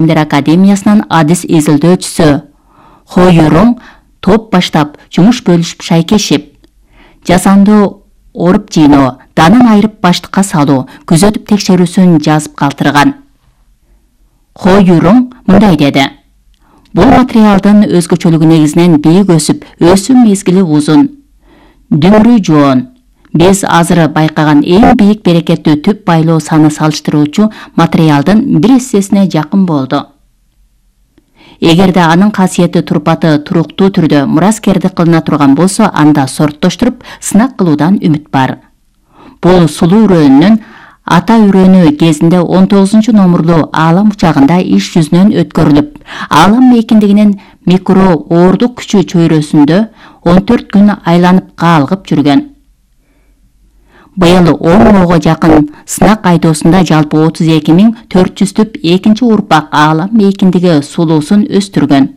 Академиясынын адис изилдөөчүсү Хо Юрун топ баштап жумуш бөлүшүп шайкешип, жасанды оруп жыйноо, данын айырып баштыкка салуу, күзөтүп текшерүүсүн жазып калтырган. Хо Юрун мындай деди: бул материалдын өзгөчөлүгү негизинен бийик өсүп, өсүү мезгили узун, дүмүрү жоон. Биз азыр байкаган эң бийик берекеттүү түп байлоо саны салыштыруучу материалдын бир эссесине жакын болду. Эгерде анын касиети турпаты туруктуу түрдө мураскерди кылына турган болсо, анда сорттоштуруп сынак кылуудан үмүт бар. Бул сулуу үрөөнүнүн ата үрөөнү кезинде 19 номурлуу Аалам учагында иш жүзүнөн өткөрүлүп, Аалам мейкиндигинин микро оордук күчү чөйрөсүндө 14 күн айланып каалгып жүргөн. Быйыл 10 мыңга жакын сынак айдоосунда жалпы 32.400 түп экинчи урпак Аалам мейкиндиги сулуусун өстүргөн.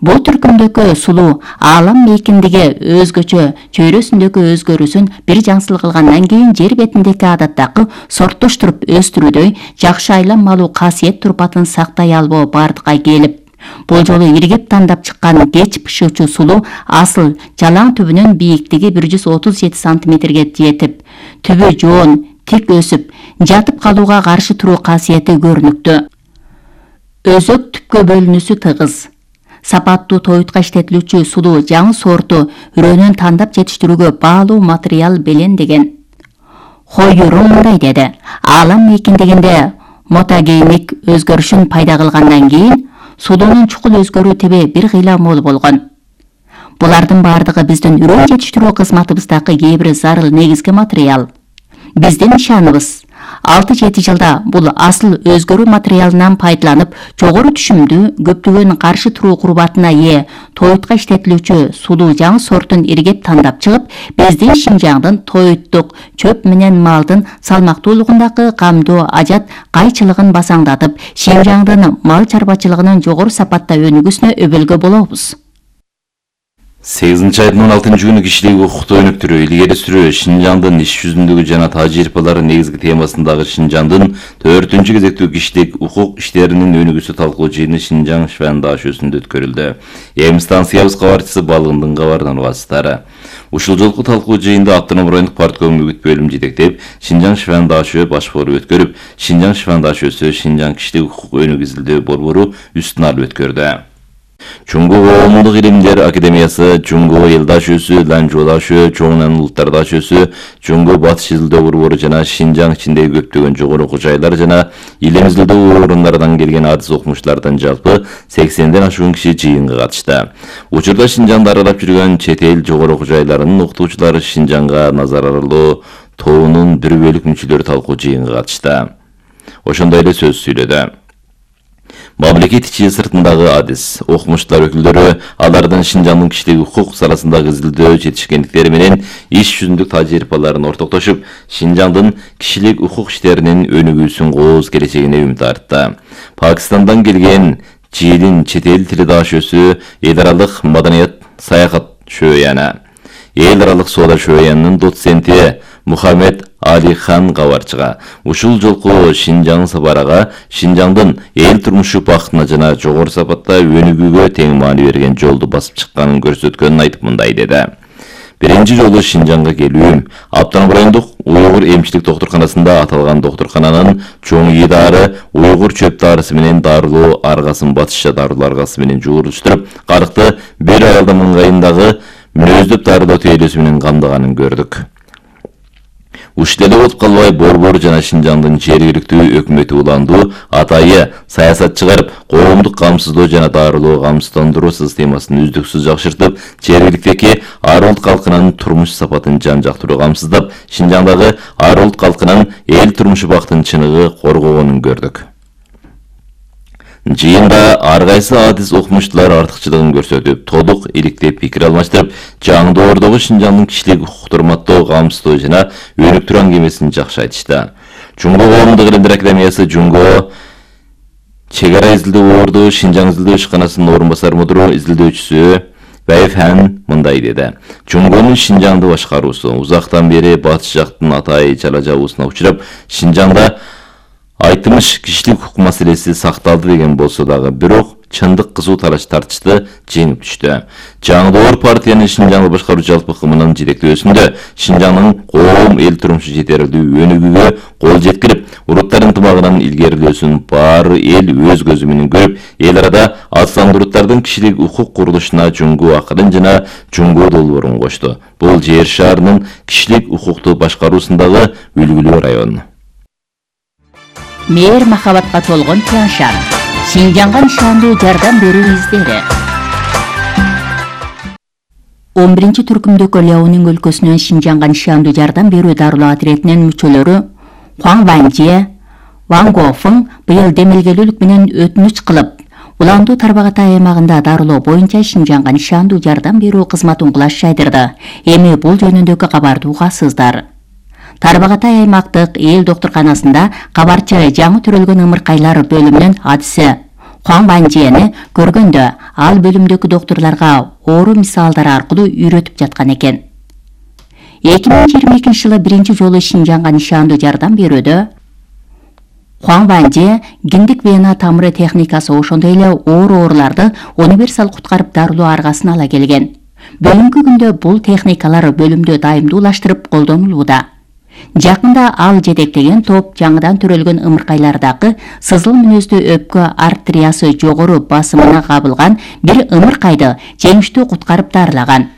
Бул түркүмдөгү сулуу Аалам мейкиндиги өзгөчө чөйрөсүндөгү өзгөрүүсүн бир жаңсыл кылгандан кийин жер бетиндеги адаттагы сорттоштуруп өстүрүүдөй жакшы айланмалуу касиет турпатын сактай албоо бардыкка келип, бул жолу иргеп тандап чыккан кеч пышуучу сулуу асыл жалаң түбүнүн бийиктиги 137 сантиметрге жетип, түбү жоон, тик өсүп, жатып калууга каршы туруу касиети көрүнүктүү. Өзөк түпкө бөлүнүүсү тыгыз. Сапаттуу тоютка иштетилүүчү сулуу жаңы сорту үрөөнүн тандап жетиштирүүгө баалуу материал белендеген. Хо Юрун мындай деди: Аалам мейкиндигинде мотогейник өзгөрүшүн пайда кылгандан кийин сулуунун чукул өзгөрүү тебе бир кыйла мол болгон. Булардын бардыгы биздин үрөөн жетиштирүү кызматыбыздагы кээ бир зарыл негизги материал. Биздин ишаныбыз 6-7 жылда бул асыл өзгөрүү материалынан пайдаланып, жогору түшүмдүү, көптөгөн каршы туруу курбатына ээ тоютка иштетилүүчү сулуу жаңы сортун иргеп тандап чыгып, биздин Шинжаңдын тоюттук чөп менен малдын салмактуулугундагы камдоо ажат кайчылыгын басаңдатып, Шинжаңдын мал чарбачылыгынын жогору сапатта өнүгүүсүнө өбөлгө болобуз. 8 айдын 16 күнү кишилик укукту өнүктүрүү, илгери сүрүү, Шинжаңдын иш жүзүндөгү жана тажрыйбалары негизги темасындагы Шинжаңдын 4-күнчү кезектүү кишилик укук иштеринин өнүгүүсү талкуу жыйыны Шинжаң Швен дашөсүндө өткөрүлдү. Эми станциябыз кабарчысы Балыгындын кабарынан угасыздар. Ушул жолку талкуу жыйында Автоном райондук партком үгүт бөлүм жетектеп, Шинжаң Швен дашөө баш форум өткөрүп, Шинжаң Швен дашөөсү Шинжаң кишилик укук өнүгүү изилдөө борбору үстүн алып өткөрдү. Чуңгу коомдук илимдер академиясы, Чуңгу эл дашөөсү, Ланжоо дашөө, Чоңнан улуттар дашөөсү, Чуңгу батыш изилдөө борбору жана Шинжаң ичиндеги көптөгөн жогору окуу жайлар жана илим изилдөө орундарынан келген адис окумуштардан жалпы 80ден ашуун киши жыйынга катышты. Учурда Шинжаңды аралап жүргөн чет эл жогору окуу жайларынын окутуучулары Шинжаңга назарарлуу тобунун бир бөлүк мүчөлөрү талкуу жыйынга катышты. Ошондой эле сөз сүйлөдү. Мамлекет ичи сыртындагы адис окумуштар өкүлдөрү алардын Шинжаңдын кишилик укук саласындагы изилдөө жетишкендиктери менен иш жүзүндүк тажрыйбаларын ортоктошуп, Шинжаңдын кишилик укук иштеринин өнүгүүсүн кооз келечегине үмүт артты. Пакистандан келген Жиилин чет эл тили дашөөсү эл аралык маданият саякат шөөяны, эл аралык соода шөөянынын доценти Мухаммед Алихан кабарчыга ушул жолку Шинжаң сапарага Шинжаңдын эл турмушу бактына жана жогору сапатта өнүгүүгө тең маани берген жолду басып чыкканын көрсөткөнүн айтып мындай деди. Биринчи жолу Шинжаңга келүүм Автоном райондук уйгур эмчилик доктурканасында аталган доктуркананын чоң идары уйгур чөп дарысы менен дарылоо аргасын батышча дарылоо аргасы менен жуурулуштуруп, карыкты бир аралдын ыңгайындагы мүнөздөп дарылоо тейлөөсү менен камдаганын көрдүк. Ушул эле болуп калбай борбор жана Шинжаңдын жергиликтүү өкмөтү уландуу атайы саясат чыгарып, коомдук камсыздоо жана дарылоо камсыздандыруу системасын үздүксүз жакшыртып, жергиликтеги ар улут калкынын турмуш сапатын жан-жактуу камсыздап, Шинжаңдагы ар улут калкынын эл турмушу бактын чыныгы коргогонун көрдүк. Жыйында ар кайсы адис окумуштуулар артыкчылыгын көрсөтүп, тодук иликтеп пикир алмаштырып, жаңдоордогу Шинжаңдын кишилик укукту урматтоо, камсыздоо жана өнүктүрүү аңгемесин жакшы айтышты. Чуңгу коомдук илимдер академиясы Чуңгу чек ара изилдөө орду Шинжаң изилдөө ишканасынын орун басар мудуру изилдөөчүсү Байфан мындай деди. Чуңгунун Шинжаңды башкаруусу узактан бери батыш жактын атай чала жабуусуна учурап, Шинжаңда Айтымыш кишилик укук маселеси сакталды деген болсо дагы, бирок чындык кызуу тартышты жеңип түштү. Жаңы Доор партиянын Шинжаңды башкаруу жалпы кымынын жетектөөсүндө Шинжаңдын коом эл турмушу жетерлүү өнүгүүгө кол жеткирип, уруттар ынтымагынын илгерилөөсүн баары эл өз көзү менен көрүп, эл арада аттандыруттардын кишилик укук курулушуна жуңгуу акырын жана жуңгуу долбоорун кошту. Бул жер шаарынын кишилик укукту башкаруусундагы үлгүлүү район. Мээр махабатка толгон Тяншан. Шинжаңга нишандуу жардам берүү издери. 11 түркүмдөгү Ляонин өлкөсүнөн Шинжаңга нишандуу жардам берүү дарылоо отрядынын мүчөлөрү Хуан Ванже, Ван Гофың быйыл демилгелүүлүк менен өтүнүч кылып, Уландуу Тарбагатай аймагында дарылоо боюнча Шинжаңга нишандуу жардам берүү кызматын кулаш жайдырды. Эми бул жөнүндөгү кабарды угасыздар. Тарбагатай аймактык эл доктурканасында кабарчы жаңы төрөлгөн ымыркайлар бөлүмүнүн адиси Хуан Ванжени көргөндө ал бөлүмдөгү доктурларга оору мисалдары аркылуу үйрөтүп жаткан экен. 2022 жылы биринчи жолу Шинжаңга нишандуу жардам берүүдө Хуан Ванже гиндик вена тамыры техникасы ошондой эле ооруларды универсал куткарып дарылоо аргасын ала келген. Бүгүнкү күндө бул техникалар бөлүмдө дайымдуулаштырып колдонулууда. Жакында ал жетектеген топ жаңыдан төрөлгөн ымыркайлардагы сызыл мүнөздүү өпкө артериясы жогору басымына кабылган бир ымыркайды жеңиштүү куткарып дарылаган.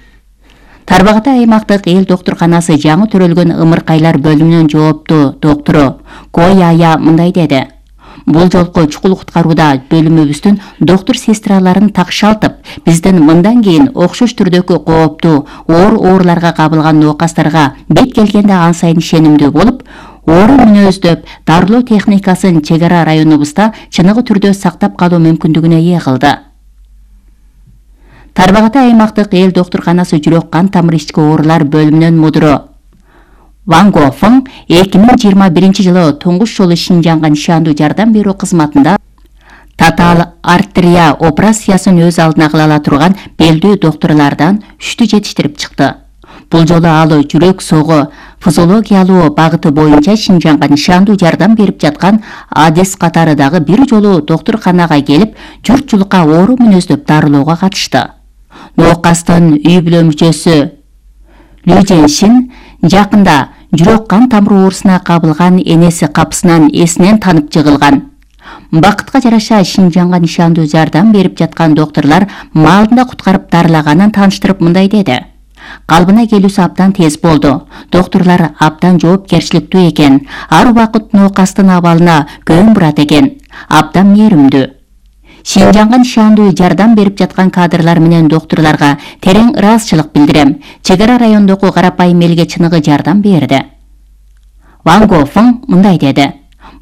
Тарбагатай аймактык эл доктурканасы жаңы төрөлгөн ымыркайлар бөлүмүнүн жооптуу доктору Кояя мындай деди. Бул жолку чукул куткарууда бөлүмүбүздүн доктур сестраларын такшалтып, биздин мындан кийин окшош түрдөгү кооптуу ооруларга кабылган ноокастарга бет келгенде ан сайын ишенимдүү болуп, оору мүнөздөп, дарылоо техникасын чек ара районубузда чыныгы түрдө сактап калуу мүмкүндүгүнө ээ кылды. Тарбагатай аймактык эл доктурканасы жүрөк кан тамыр ички оорулар бөлүмүнүн мудуру Ван Гофың 2021 жылы туңгуш жолу Шинжаңга нишандуу жардам берүү кызматында татаал артерия операциясын өз алдына кыла ала турган белдүү доктурлардан 3-тү жетиштирип чыкты. Бул жолу ал жүрөк согу физиологиялуу багыты боюнча Шинжаңга нишандуу жардам берип жаткан адис катары дагы бир жолу доктурканага келип, журтчулукка оору мүнөздөп дарылоого катышты. Ноокастын үй бүлө мүчөсү Лю Женшин жакында жүрөк кан тамыры оорусуна кабылган энеси капысынан эсинен танып жыгылган. Бакытка жараша Шинжаңга нишандуу жардам берип жаткан доктурлар маалында куткарып дарылаганын тааныштырып мындай деди. Калбына келүүсү абдан тез болду. Доктурлар абдан жоопкерчиликтүү экен. Ар убакыт ноокастын абалына көң бурат экен. Абдан мээримдүү. Шинжаңга нишандуу жардам берип жаткан кадрлар менен доктурларга терең ыраазычылык билдирем. Чек ара райондогу карапайым элге чыныгы жардам берди. Ван Гофың мындай деди.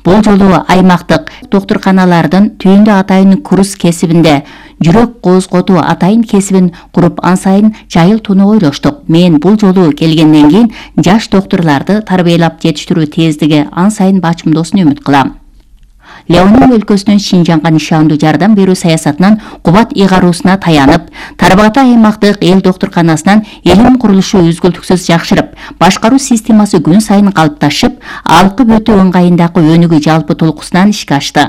Бул жолу аймактык доктурканалардын түйүндө атайын курс кесибинде жүрөк козготуу атайын кесибин куруп ан сайын жайылтууну ойлоштук. Мен бул жолу келгенден кийин жаш доктурларды тарбиялап жетиштирүү тездиги ан сайын бачымдоосун үмүт кылам. Ляонин өлкөсүнүн Шинжаңга нишандуу жардам берүү саясатынан кубат ыйгаруусуна таянып, Тарбагатай аймактык эл доктурканасынан элим курулушу үзгүлтүксүз жакшырып, башкаруу системасы күн сайын калыпташып, алкып өтүү ыңгайындагы өнүгүү жалпы толкусунан ишке ашты.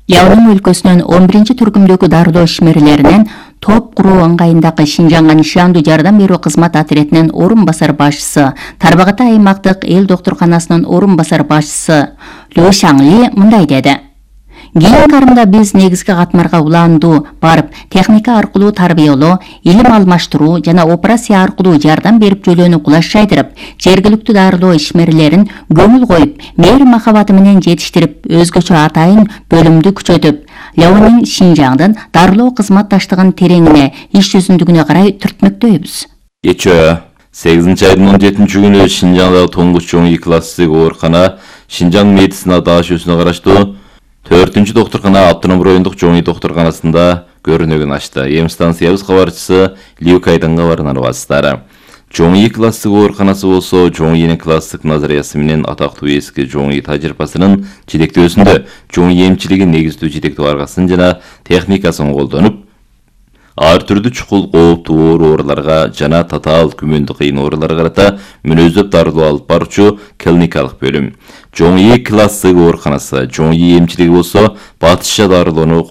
Ляонин өлкөсүнүн 11 түркүмдөгү дарылоо ишмерлеринен топ куруу ыңгайындагы Шинжаңга нишандуу жардам берүү кызмат отрядынын орун басар башчысы, Тарбагатай аймактык эл доктурканасынын орун басар башчысы Лю Шаңли мындай деди. Кийинки арымда биз негизги катмарга улаандуу барып, техника аркылуу тарбиялоо, илим алмаштыруу жана операция аркылуу жардам берип жөлөөнү кулаш жайдырып, жергиликтүү дарылоо ишмерлерин көңүл коюп, мээр махабаты менен жетиштирип, өзгөчө атайын бөлүмдү күчөтүп, Ляонин Шинжаңдын дарылоо кызматташтыгын тереңине, иш жүзүндүгүнө карай түртмөктөйбүз. Кечээ 8 айдын 17 күнү Шинжаңдагы туңгуч чоң класстык оорукана Шинжаң медицина дашүүсүнө караштуу 4-чү доктуркана автоном райондук чоң доктурканасында көрүнөгүн ачты. Эм станциябыз кабарчысы Лиу Кайдын кабарын алабыздар. Чоң класстык ооруканасы болсо чоң класстык назариясы менен атактуу эски чоң тажрыйбасынын жетектөөсүндө чоң эмчилигин негиздүү жетектөө аргасын жана техникасын колдонуп, ар түрдүү чукул кооптуу ооруларга жана татаал күмөндү кыйын ооруларга карата мүнөздөп дарылоо алып баруучу клиникалык бөлүм. Жоң Е классы ооруканасы, Жоң Е эмчилиги болсо батышча дарылоону